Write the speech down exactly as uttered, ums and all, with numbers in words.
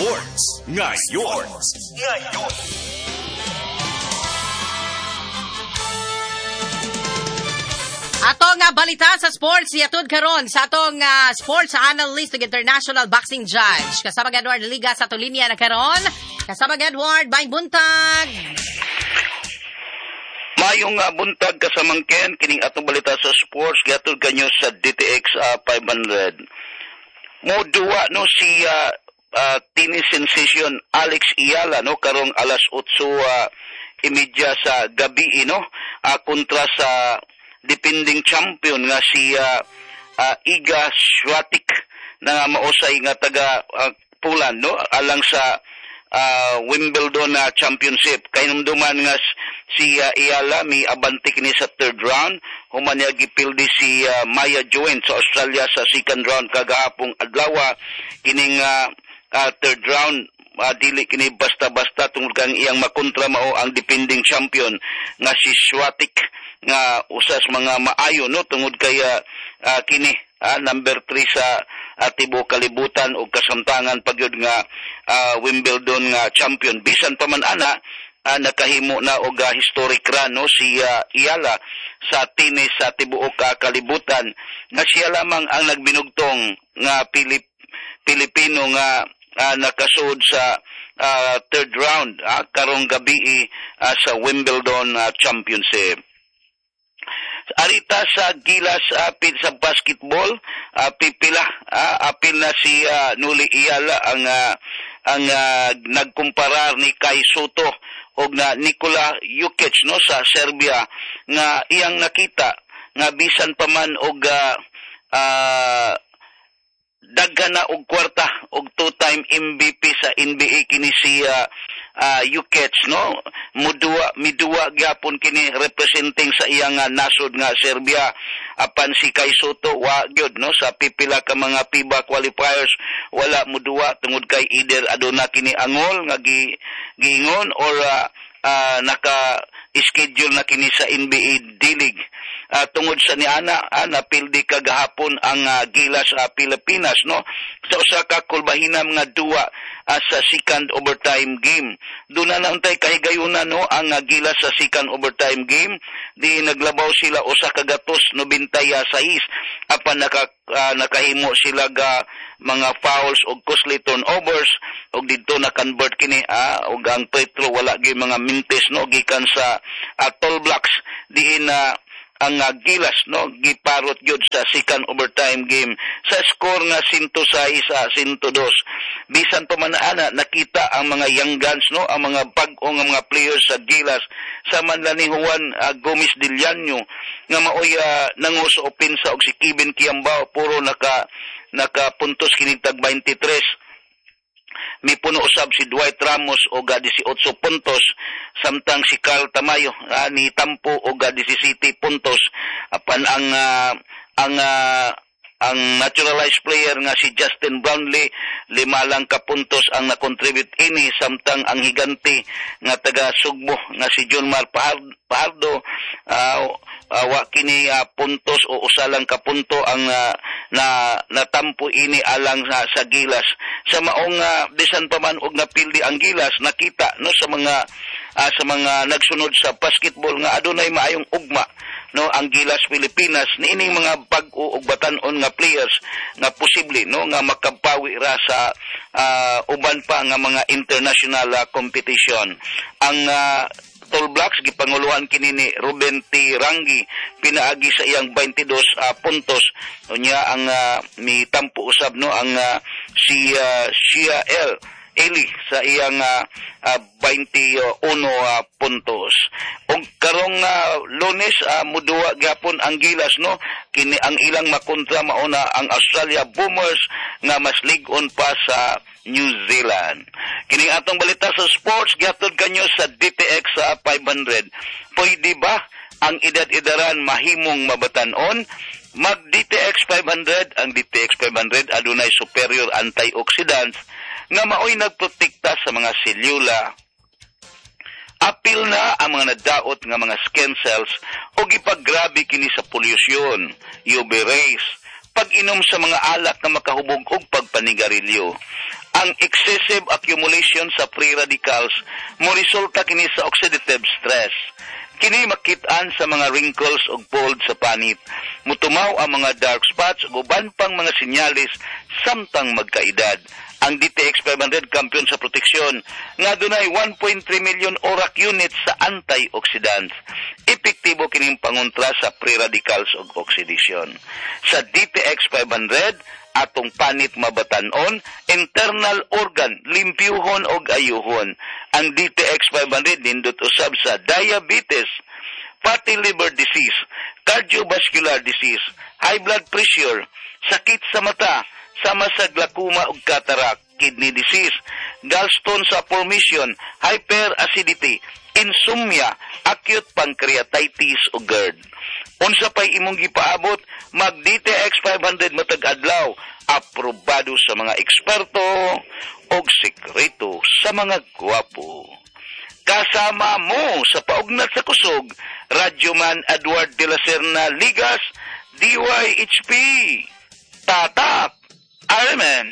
Sports Ngayon. Ngayon. Ato nga balita sa sports yatud karon sa atong uh, sports analyst ug international boxing judge. Kasama Edward Liga sa tulinya na karon. Kasama Edward, may buntag. Mayong uh, buntag kasamang Ken, kining atong balita sa sports gihatod kanyo sa D T X uh, five hundred. Moduwa no si uh, uh, tennis sensation Alex Eala no karong alas otso uh, imedya sa gabi no uh, kontra sa defending champion nga si uh, uh, Iga Swiatek na mausay nga taga uh, Poland no alang sa uh, Wimbledon na uh, Championship. Kahinumduman nga si uh, Eala mi abante kini sa third round, human niya gipildi si uh, Maya Joint sa Australia sa second round kagahapong adlaw. Kining uh, uh, third round uh, dili kini basta-basta tungod kang iyang makontra mao ang defending champion nga si Swiatek nga usas mga maayo no tungod kay uh, uh, kini uh, number three sa uh, tibuok kalibutan og kasamtangan pagyud nga uh, Wimbledon nga champion. Bisan pa man ana uh, nakahimo na og uh, historic run no si uh, Eala sa tennis sa tibuok uh, kalibutan nga siya lamang ang nagbinugtong nga Pilip, Pilipino nga uh, nakasuod sa uh, third round uh, karong gabi uh, sa Wimbledon uh, Championship. Arita sa Gilas apil sa basketball, uh, pipila uh, apil na si uh, Noli Eala ang uh, ang uh, nagkumparar ni Kai Soto og na Nikola Jokic no sa Serbia nga iyang nakita nga bisan pa man og uh, uh, daghan na og kwarta og two-time M V P sa N B A kini si uh, uh, Jokic no muduwa miduwa gyapon kini representing sa iyang uh, nasod nga Serbia. Apan si Kai Soto wa gyud no sa pipila ka mga FIBA qualifiers wala muduwa tungod kay either aduna kini angol nga gi, giingon or uh, uh, naka schedule na kini sa N B A D-League. Uh, tungod sa niana ah, napildi kagahapon ang uh, Gilas sa uh, Pilipinas no sa usa ka kulbahinam nga duwa uh, sa second overtime game. Doon na nauntay kahigayunan no ang uh, Gilas sa second overtime game, di naglabaw sila usa ka gatos nobentay sais apan naka, uh, nakahimo sila ga mga fouls og costly turnovers og didto na convert kini ah, og ang Petro wala gyud mga mintes no gikan sa uh, Tall Blacks diin na uh, ang uh, Gilas no giparot gyud sa second overtime game sa score nga one oh six sa one oh two. Bisan pa man ana nakita ang mga young guns no ang mga bag-o nga mga players sa Gilas sa manla ni Juan uh, Gomez de Liaño nga maoy uh, nanguso opensa og si Kevin Kiambao puro naka nakapuntos kini tag twenty-three. Mipuno usab si Dwight Ramos og eighteen puntos samtang si Carl Tamayo ah, ni tampo og seventeen puntos. Apan ang uh, ang uh, ang naturalized player nga si Justin Brownlee lima lang ka puntos ang na-contribute ini samtang ang higante nga taga Sugbo nga si Junmar Fajardo uh, uh, wa kini uh, puntos o usa lang ka punto ang uh, na natampo ini alang sa, sa Gilas. Sa maong uh, bisan pa man og napildi ang Gilas nakita no sa mga uh, sa mga nagsunod sa basketball nga adunay maayong ugma no ang Gilas Pilipinas niining mga bag-o og batan-on nga players nga posible no nga makapawi ra sa uh, uban pa nga mga international uh, competition. Ang uh, Tall Blacks gipanguluhan kini ni Ruben T. Rangi pinaagi sa iyang twenty-two uh, puntos. Unya ang uh, mitampo usab no ang uh, si uh, Shia L. Eli sa iyang uh, uh, twenty-one uh, puntos. Og karong uh, Lunes uh, muduwa gyapon ang Gilas no kini ang ilang makontra mauna ang Australia Boomers nga mas lig-on pa sa New Zealand. Kining atong balita sa sports gihatod kanyo sa D T X sa five hundred. Pwede ba ang edad-edaran mahimong mabatan-on? Mag D T X five hundred, ang D T X five hundred adunay superior antioxidants nga maoy nagprotekta sa mga selula. Apil na ang mga nadaot nga mga skin cells o gipaggrabe kini sa polusyon, U V rays, pag-inom sa mga alak na makahubog og pagpanigarilyo. Ang excessive accumulation sa free radicals mo resulta kini sa oxidative stress. Kini makit-an sa mga wrinkles ug fold sa panit. Mutumaw ang mga dark spots ug uban pang mga sinyalis samtang magkaedad. Ang D T X five hundred, kampiyon sa proteksyon nga dunay one point three million ORAC units sa antioxidants. Epektibo kining pangontra sa free radicals ug oxidation. Sa D T X five hundred, atong panit mabatan-on, internal organ limpyuhon og ayuhon. Ang D T X five hundred nindot usab sa diabetes, fatty liver disease, cardiovascular disease, high blood pressure, sakit sa mata, sama sa glaucoma ug cataract, kidney disease, gallstone sa formation, hyperacidity, insomnia, acute pancreatitis ug GERD. Unsa pay imong gipaabot, mag D T X five hundred matag adlaw, aprobado sa mga eksperto og sekreto sa mga gwapo. Kasama mo sa paugnat sa kusog, Radyoman Edward de la Serna Ligas, D Y H P. Tatak! Ironman!